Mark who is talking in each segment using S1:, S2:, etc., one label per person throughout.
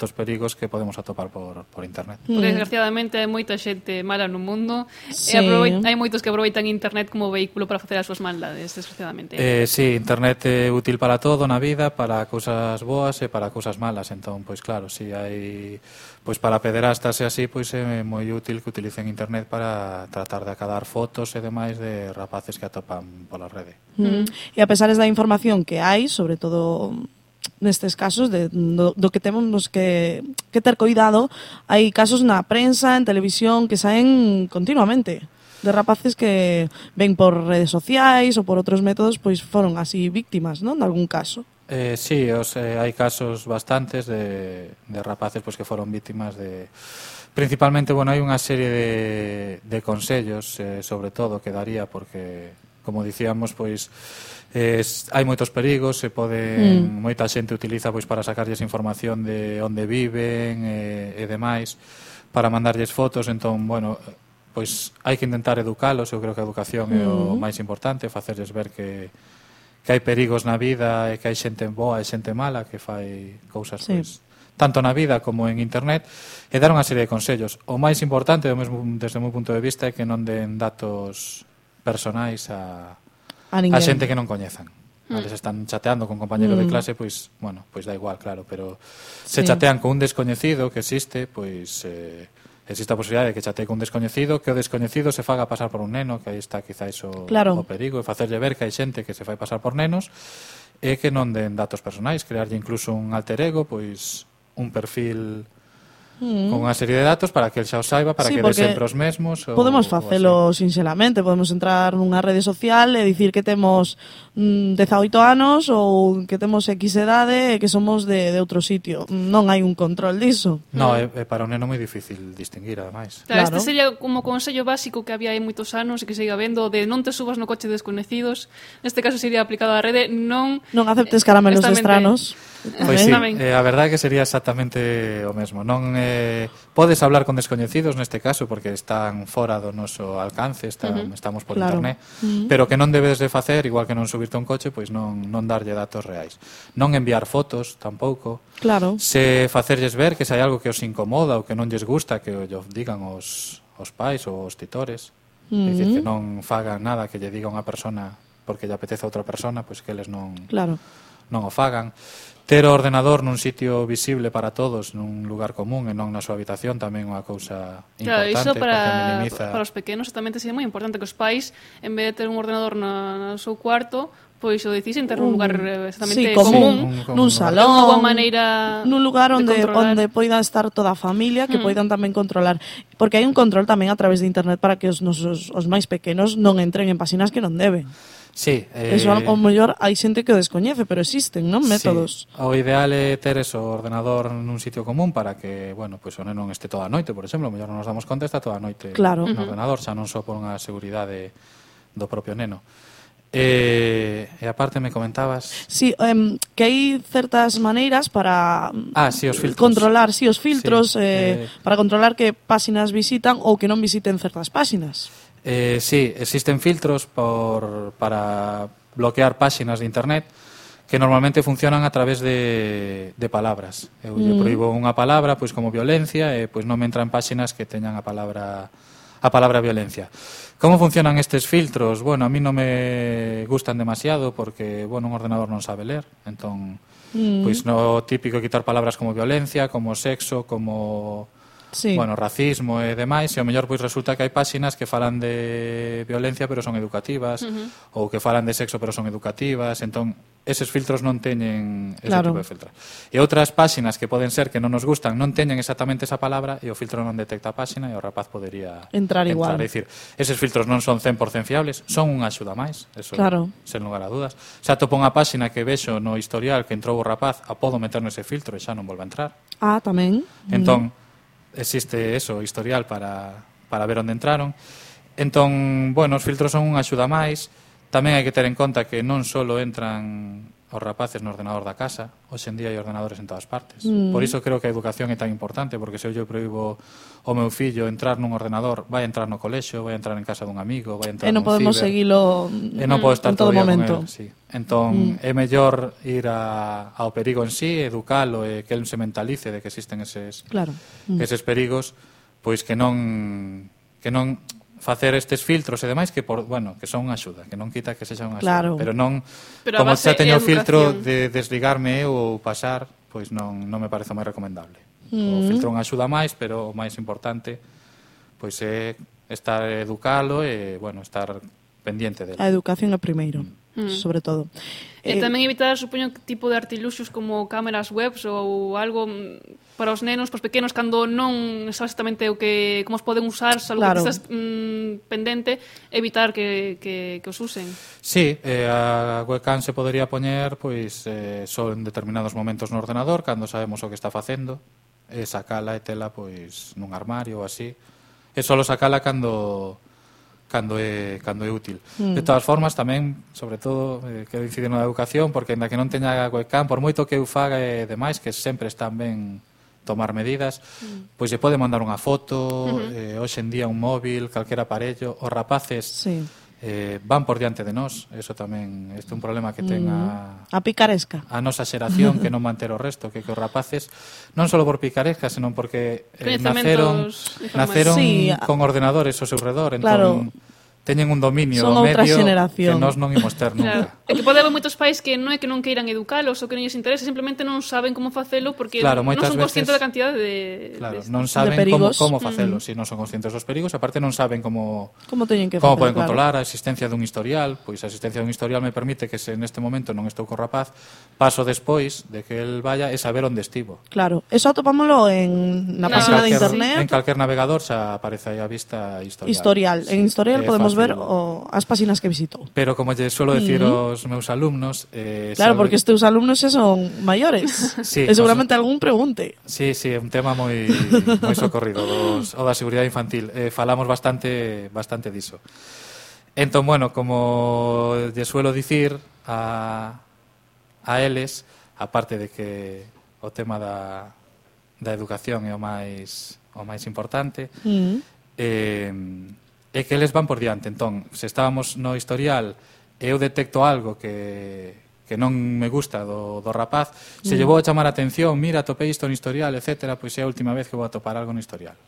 S1: dos perigos que podemos atopar por internet.
S2: Porque desgraciadamente hai moita xente mala no mundo
S3: Sí.
S2: e hai moitos que aproveitan internet como vehículo para facer as súas maldades, desgraciadamente.
S1: Sí, internet é útil para todo na vida, para cousas boas e para cousas malas. Entón, pois claro, si hai pois para pederastas e así, pois é moi útil que utilicen internet para tratar de acadar fotos e demais de rapaces que atopan pola rede.
S3: E a pesar da información que hai, sobre todo nestes casos do que temos que ter cuidado, hai casos na prensa, en televisión, que saen continuamente de rapaces que ven por redes sociais ou por outros métodos, pois foron así víctimas, non? De algún caso.
S1: Sí, hai casos bastantes de rapaces pois que foron vítimas de... Principalmente, bueno, hai unha serie de consellos, sobre todo, que daría, porque, como dicíamos, pois hai moitos perigos, moita xente utiliza pois para sacarlles información de onde viven e demais, para mandarlles fotos. Entón, bueno, pois hai que intentar educalos. Eu creo que a educación é o máis importante, facerlles ver que hai perigos na vida e que hai xente boa e xente mala que fai cousas pois tanto na vida como en internet, e dar unha serie de consellos. O máis importante, desde o meu punto de vista, é que non den datos personais a xente que non coñezan. Eles están chateando con compañeros de clase, pois, bueno, pois da igual, claro, pero se chatean con un descoñecido que existe, pois existe a posibilidade de que chatee con un descoñecido, que o descoñecido se faga pasar por un neno, que aí está quizás o perigo, e facerlle ver que hai xente que se fai pasar por nenos, e que non den datos personais, crearlle incluso un alter ego, pois un perfil con unha serie de datos para que el xa o saiba, para que dé sempre os mesmos.
S3: Podemos facelo sinxelamente, podemos entrar nunha rede social e dicir que temos 18 anos ou que temos X edade e que somos de outro sitio. Non hai un control diso.
S1: No, é para un neno moi difícil distinguir, ademais.
S2: Claro, este sería como consello básico que había hai moitos anos e que siga vendo, de non te subas no coche desconhecidos. Neste caso sería aplicado á rede, non
S3: aceptes caramelos de estranos.
S1: Pois sí, a verdade é que sería exactamente o mesmo. Non podes hablar con descoñecidos neste caso porque están fora do noso alcance, estamos por internet, pero que non debes de facer, igual que non subirte a un coche, pois non darlle datos reais. Non enviar fotos tampouco.
S3: Claro.
S1: Se facerlles ver que se hai algo que os incomoda ou que non lles gusta, que o digan os pais ou os titores. É dicir, que non fagan nada que lle diga unha persona porque lle apetece a outra persona, pois que eles non o fagan. Ter o ordenador nun sitio visible para todos, nun lugar común e non na súa habitación, tamén é unha cousa importante.
S2: Claro, iso para os pequenos tamén sería moi importante que os pais, en vez de ter un ordenador no seu cuarto, pois o decisen ter un lugar exactamente común,
S3: nun salón,
S2: unha maneira
S3: nun lugar onde poida estar toda a familia, que poidan tamén controlar, porque hai un control tamén a través de internet para que os máis pequenos non entren en páxinas que non deben.
S1: Sí,
S3: eso ao mellor hai xente que o descoñece, pero existen, non? Métodos.
S1: Sí. O ideal é ter o ordenador nun sitio común para que, bueno, pois o neno non este toda a noite, por exemplo, o mellor non nos damos conta, está toda a noite no ordenador, xa non só por unha seguridade do propio neno. E aparte me comentabas...
S3: Sí, que hai certas maneiras para
S1: os filtros.
S3: Controlar, os filtros, para controlar que páxinas visitan ou que non visiten certas páxinas.
S1: Sí, existen filtros para bloquear páxinas de internet que normalmente funcionan a través de palabras. Eu lle proíbo unha palabra, pois como violencia, e pois non me entra en páxinas que teñan a palabra violencia. Como funcionan estes filtros? Bueno, a mí non me gustan demasiado porque, bueno, un ordenador non sabe ler, entón, pois no típico é quitar palabras como violencia, como sexo, como... bueno, racismo e demais, e ao mellor pois resulta que hai páxinas que falan de violencia pero son educativas, ou que falan de sexo pero son educativas, entón eses filtros non teñen ese tipo de filtro. E outras páxinas que poden ser que non nos gustan non teñen exactamente esa palabra e o filtro non detecta a páxina e o rapaz podería
S3: entrar igual.
S1: É dicir, eses filtros non son 100% fiables, son unha axuda máis, eso sen lugar a dudas. Se atopo unha páxina que vexo no historial que entrou o rapaz, a podo meter nese filtro e xa non volve a entrar.
S3: Tamén.
S1: Entón, existe eso, historial para ver onde entraron. Entón, bueno, os filtros son unha axuda máis. Tamén hai que ter en conta que non só entran os rapaces no ordenador da casa. Hoxe en día hai ordenadores en todas partes. Por iso creo que a educación é tan importante, porque se eu proíbo o meu fillo entrar nun ordenador, vai entrar no colexio, vai entrar en casa dun amigo, vai entrar
S3: non
S1: nun
S3: podemos
S1: ciber,
S3: seguilo
S1: e non podo estar
S3: en todo
S1: todo o día
S3: momento.
S1: con él, sí. Entón, é mellor ir ao perigo en sí, educalo e que él se mentalice de que existen eses perigos, pois que non facer estes filtros e demais que que son unha axuda, que non quita que sexa unha axuda, pero non como xa teño o filtro de desligarme ou pasar, pois non me parece máis recomendable. O filtro é unha axuda máis, pero o máis importante pois é estar educalo e estar pendiente dele.
S3: A educación é primeiro, sobre todo.
S2: E tamén evitar, supoño, que tipo de artiluxos como cámaras webs ou algo para os nenos, para os pequenos, cando non sabes exactamente como os poden usar, algo que estás pendente, evitar que os usen.
S1: Sí, a webcam se podería poñer só en determinados momentos no ordenador, cando sabemos o que está facendo, e sacala e tela nun armario ou así, e só sacala cando é útil. De todas formas, tamén, sobre todo, quero incidir na educación, porque ainda que non teña webcam, por moito que eu faga e demais, que sempre están ben tomar medidas, pois lle pode mandar unha foto, hoxe en día un móvil, calquera aparello, os rapaces van por diante de nós, eso tamén é un problema que ten
S3: a picaresca.
S1: A nosa xeración, que non manter o resto, que os rapaces, non só por picaresca, senón porque naceron con ordenadores ao seu redor, entón teñen un dominio do medio que nós non imos ter nunca.
S2: É que pode haber moitos pais que non é que non queiran educalos ou que non lles interese, simplemente non saben como facelo porque non son conscientes da cantidade de
S1: non saben como facelo, si non son conscientes dos perigos, aparte non saben como
S3: poden
S1: controlar a existencia dun historial, pois a existencia dun historial me permite que se neste momento non estou co rapaz, paso despois de que el vaya e saber onde estivo.
S3: Claro, eso atopámoslo na página de internet.
S1: En calquer navegador xa aparece aí a vista
S3: historial. En historial podemos ver as páxinas que visitou.
S1: Pero como lle suelo decir aos meus alumnos...
S3: Claro, porque os teus alumnos xa son maiores.
S1: Sí,
S3: e seguramente algún pregunte.
S1: Sí, é un tema moi socorrido, o da seguridade infantil. Falamos bastante diso. Entón, como lle suelo dicir a eles, aparte de que o tema da educación é o máis importante, é que eles van por diante. Entón, se estábamos no historial e eu detecto algo que non me gusta do rapaz, se lle vou a chamar a atención, mira, atopei isto no historial, etcétera, pois é a última vez que vou a topar algo no historial.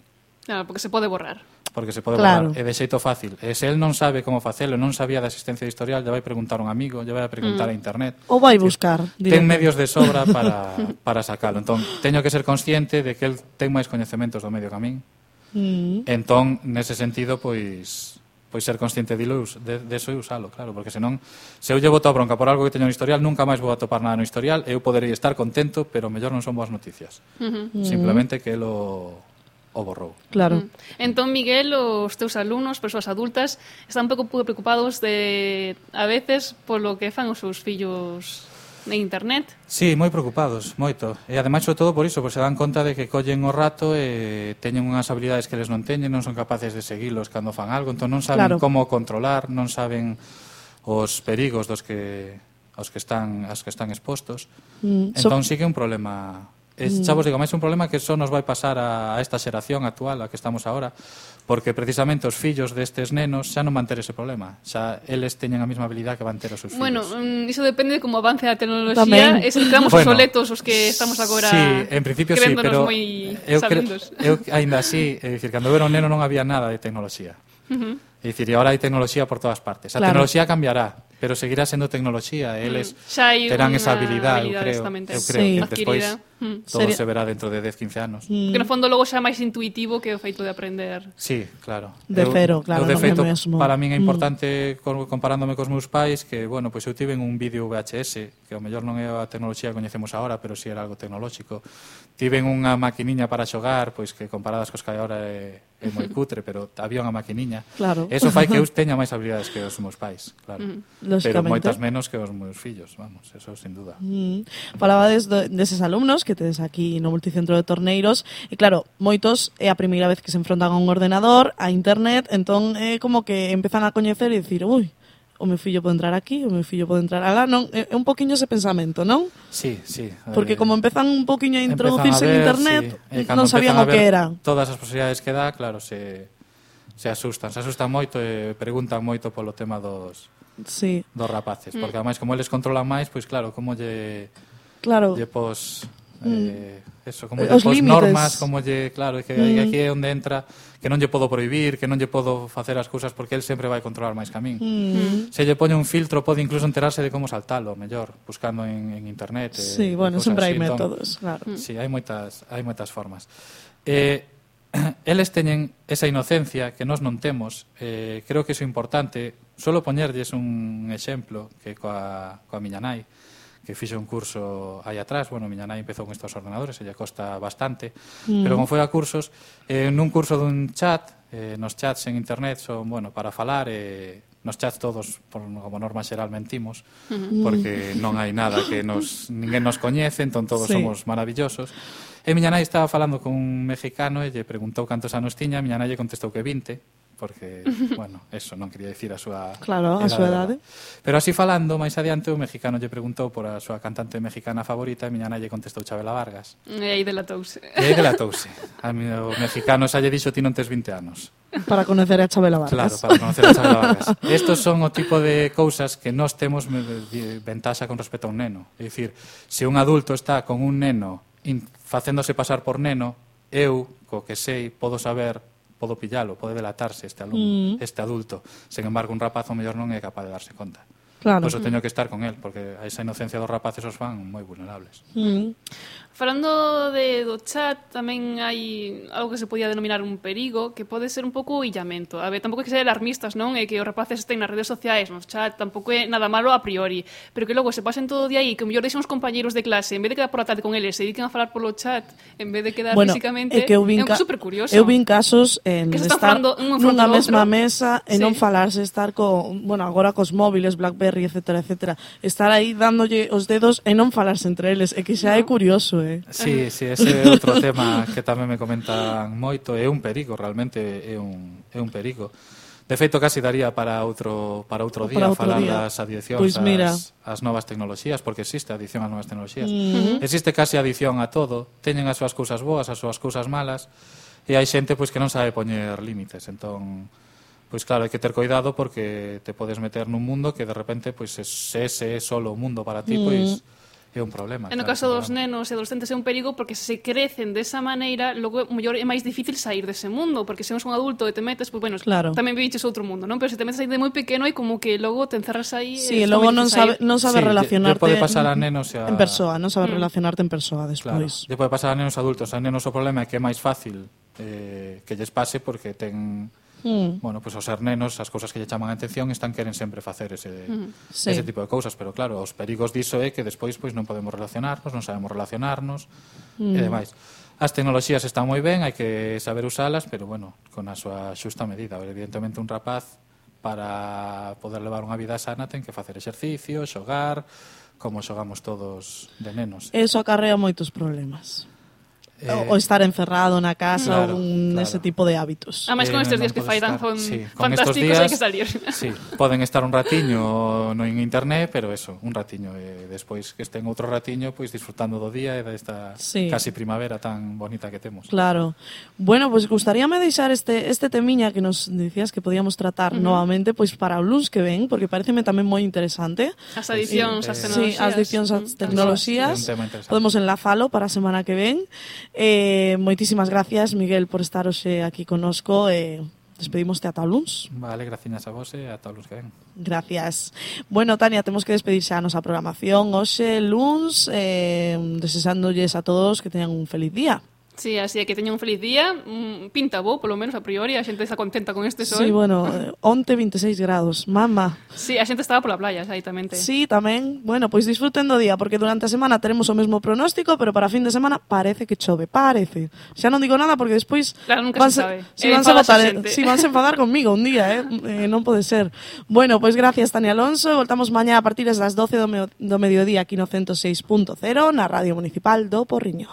S2: Claro, porque se pode borrar.
S1: Borrar, e de xeito fácil. E se el non sabe como facelo, non sabía da existencia do historial, lle vai preguntar a un amigo, lle vai a preguntar a internet.
S3: Ou vai buscar.
S1: Ten medios de sobra para sacalo. Entón, teño que ser consciente de que el ten máis coñecementos do medio que a min. Entón, nese sentido, pois ser consciente deso e usalo, claro, porque senón, se eu lle boto a bronca por algo que teño no historial, nunca máis vou a topar nada no historial, eu poderei estar contento, pero mellor non son boas noticias. Simplemente que el o borrou.
S3: Claro.
S2: Entón, Miguel, os teus alumnos, persoas adultas, están un pouco preocupados a veces polo que fan os seus fillos en internet.
S1: Sí, moi preocupados, moito. E ademais, sobre todo por iso, se dan conta de que collen o rato e teñen unhas habilidades que eles non teñen, non son capaces de seguilos cando fan algo, entón non saben como controlar, non saben os perigos aos que están expostos. Entón sí que é un problema. Xa vos digo, máis un problema que só nos vai pasar a esta xeración actual, a que estamos agora, porque precisamente os fillos destes nenos xa non van ter ese problema, xa eles teñen a mesma habilidade que van ter os seus fillos.
S2: Bueno, iso depende de como avance a tecnoloxía, e se quedamos obsoletos os que estamos agora
S1: en principio sí, pero eu ainda así, é dicir, cando eu era un neno non había nada de tecnoloxía. É dicir, e agora hai tecnoloxía por todas partes. A tecnoloxía cambiará, pero seguirá sendo tecnoloxía, eles terán esa habilidade, eu creo que despois todo se verá dentro de 10-15 anos.
S2: Que no fondo logo xa é máis intuitivo que o feito de aprender.
S1: Sí, claro.
S3: De cero, claro.
S1: De feito, para min é importante, comparándome cos meus pais, que, pois eu tive un vídeo VHS, que ao mellor non é a tecnoloxía que coñecemos agora, pero si era algo tecnolóxico. Tiven unha maquiniña para xogar, pois que comparadas cos que hai agora é moi cutre, pero había unha maquiniña.
S3: Claro.
S1: Eso fai que eu teña máis habilidades que os meus pais, claro. Pero moitas menos que os meus fillos, vamos, eso sin duda.
S3: Falabades deses alumnos que tedes aquí no multicentro de Torneiros, e claro, moitos é a primeira vez que se enfrontan a un ordenador, a internet, entón é como que empezan a coñecer e dicir, ui, o meu fillo pode entrar aquí, o meu fillo pode entrar alá, non? É un poquinho ese pensamento, non?
S1: Sí, sí.
S3: Porque como empezan un poquinho a introducirse en internet, non sabían o que era.
S1: Todas as posibilidades que dá, claro, se asustan moito e preguntan moito polo tema dos rapaces, porque ademais como eles controlan máis, pois claro, como lle pos eso, como lle pos normas, como lle, claro, que aquí é onde entra que non lle podo prohibir, que non lle podo facer as cousas porque el sempre vai controlar máis que a min. Se lle poñe un filtro, pode incluso enterarse de como saltalo, mellor, buscando en internet.
S3: Sí, bueno, sempre hai métodos, claro.
S1: Sí, hai moitas formas. Eles teñen esa inocencia que nós non temos. Creo que iso é importante. Solo poñerlles un exemplo que coa miña nai, que fixe un curso aí atrás. Bueno, miña nai empezou con estos ordenadores, ella costa bastante, pero como foi a cursos, nun curso dun chat, nos chats en internet son, bueno, para falar, nos chats todos, como norma xeral, mentimos, porque non hai nada que ninguén nos coñece, entón todos somos maravillosos. E miña nai estaba falando con un mexicano e lle preguntou cantos anos tiña, miña nai lle contestou que 20, porque, bueno, eso non quería dicir a súa
S3: edade.
S1: Pero así falando, máis adiante, o mexicano lle preguntou por a súa cantante mexicana favorita e miña nai lle contestou Chabela Vargas.
S2: E aí delatouse.
S1: O mexicano xa lle dixo ti non tes 20 anos.
S3: Para conocer a Chabela
S1: Claro,
S3: Vargas.
S1: para conocer a Chabela Vargas. Estos son o tipo de cousas que nós temos ventaxa con respecto a un neno. É dicir, se un adulto está con un neno facéndose pasar por neno, eu, co que sei, podo pillalo, pode delatarse este adulto. Sen embargo, un rapaz o mellor non é capaz de darse conta.
S3: Claro.
S1: Por eso teño que estar con él, porque a esa inocencia dos rapaces os fan moi vulnerables.
S2: Falando do chat, tamén hai algo que se podía denominar un perigo, que pode ser un pouco illamento. A ver, tampouco hai que ser alarmistas, non? É que os rapaces estén nas redes sociais, nos chat, tampouco é nada malo a priori, pero que logo se pasen todo o día aí, que o mellor deixen os compañeiros de clase, en vez de quedar por a tarde con eles, se dediquen a falar polo chat, en vez de quedar físicamente, é un super curioso.
S3: Eu vin casos en estar nunha mesma mesa e non falarse, estar agora cos móviles, BlackBerry, etcétera, estar aí dándolle os dedos e non falarse entre eles, é que xa é curioso,
S1: Sí, ese é outro tema que tamén me comentan moito, é un perigo, realmente é un perigo. De feito, casi daría para outro día falar das adiccións ás novas tecnoloxías, porque existe adicción ás novas tecnoloxías. Existe casi adicción a todo, teñen as súas cousas boas, as súas cousas malas, e hai xente pois que non sabe poñer límites, entón pois claro, hai que ter cuidado porque te podes meter nun mundo que de repente pois ese é solo o mundo para ti, pois é un problema.
S2: En o caso dos nenos e adolescentes é un perigo porque se crecen desa maneira, logo mellor é máis difícil sair dese mundo, porque se és un adulto e te metes, pois bueno, tamén viviches outro mundo, non? Pero se te metes aí de moi pequeno e como que logo te encerras aí.
S3: Sí, e logo non sabe relacionarte
S1: pode pasar a nenos
S3: en persoa, non sabe relacionarte en persoa despois.
S1: Claro, pode pasar a nenos adultos. A nenos o problema é que é máis fácil que lles pase porque ten bueno, pois os ser nenos, as cousas que lle chaman a atención queren sempre facer ese tipo de cousas, pero claro, os perigos diso é que despois pois non podemos relacionarnos, non sabemos relacionarnos e demais. As tecnoloxías están moi ben, hai que saber usalas, pero bueno, con a súa xusta medida. Evidentemente un rapaz para poder levar unha vida sana ten que facer exercicio, xogar, como xogamos todos de nenos.
S3: Eso acarrea moitos problemas. O estar encerrado na casa ou ese tipo de hábitos.
S2: Ademais, con estes días que fai tan fantásticos, hai que salir.
S1: Sí, poden estar un ratiño no en internet, pero eso, un ratiño. E despois que estén outro ratiño, pois disfrutando do día e desta casi primavera tan bonita que temos.
S3: Claro. Bueno, pois gustaríame deixar este temiña que nos dicías que podíamos tratar novamente pois para o luns que ven, porque pareceme tamén moi interesante.
S2: As adiccións ás tecnoloxías.
S3: Sí, as adiccións ás tecnoloxías. Podemos enlazalo para a semana que ven. Moitísimas gracias, Miguel, por estar hoxe aquí connosco e despedimos ata o luns.
S1: Vale, gracias a vos e ata o luns que ven.
S3: Gracias. Bueno, Tania, temos que despedir xa a nosa programación hoxe luns, desexándolles a todos que teñan un feliz día.
S2: Sí, así é que teña un feliz día, pinta bo, polo menos a priori, a xente está contenta con este sol.
S3: Sí, bueno, onte 26 grados, mama.
S2: Sí, a xente estaba pola playa, exatamente.
S3: Sí, tamén. Bueno, pois disfruten do día, porque durante a semana teremos o mesmo pronóstico, pero para fin de semana parece que chove, parece. Xa non digo nada porque despois
S2: claro, nunca se sabe.
S3: Vanse enfadar conmigo un día, non pode ser. Bueno, pois gracias, Tania Alonso, voltamos mañá a partir das 12 do mediodía aquí no 106.0 na Radio Municipal do Porriño.